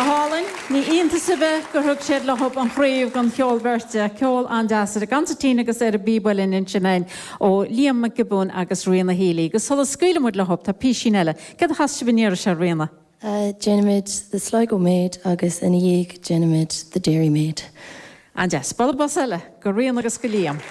Go hálainn. Ní iontas ar bith gur thug siad leo an chraobh don cheol beirte. Ceol an-deas ar an gconsairtín agus ar an bpíb uilleann ansin againn ó Liam Mac Giobúin agus Ríona Healy. Agus sula scaoileann muid leo tá písín eile. Céard a chas sibh an iarraidh seo, Ríona? Déanaimid The Sligo Maid agus ina dhiaidh déanaimid The Derry Maid. An-deas. Bualadh bos eile go Ríona agus go Liam.